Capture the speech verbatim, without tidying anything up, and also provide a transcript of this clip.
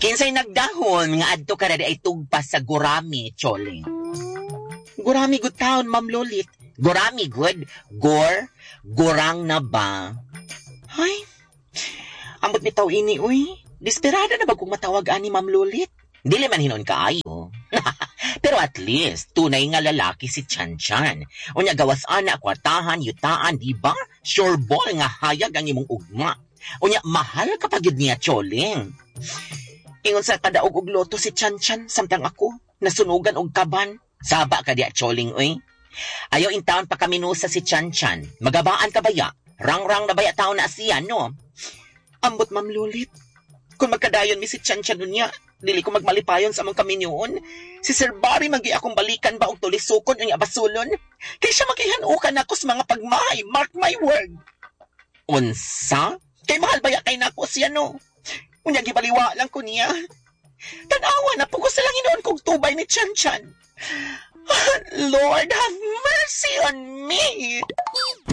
Kinsay nagdahon nga adto ka na di ay tugpas sa Gurami, Choling. Gurami good town, Ma'am Lolit. Gurami good. Gor, gurang na ba? Ay, ambot bitaw ini, uy. Desperada na ba kung matawag ani Ma'am Lolit? Dili man hinon kaayo. Pero at least, tunay nga lalaki si Chan Chan. Unya gawas ana, kwartahan, yutaan, di ba? Sure ball nga hayag ang imong ugma. Unya, mahal ka pa gyud niya, Choling. Ingon sa kadaog og loto si Chan Chan, samtang ako, nasunugan og kaban. Saba ka diya, Choling, uy. Ayaw in town pa kami nusa si Chan Chan. Magabaan ka baya? Rang-rang na baya taon na siya, no? Ambot, Ma'am Lulit. Kung magkadayon mi si Chan Chan unya, dili ko magmalipayon sa among kaminyoon. Si Sir Barry magi akong balikan ba og tulisukon unya basulon? Kay siya magihanukan ako sa mga pagmahay, mark my word. Unsa? Kay mahal baya kay nako siya, no? Unya gibaliwa lang ko niya. Tanawa na pugos na lang inoon kog tubay ni Chan Chan. Lord, have mercy on me!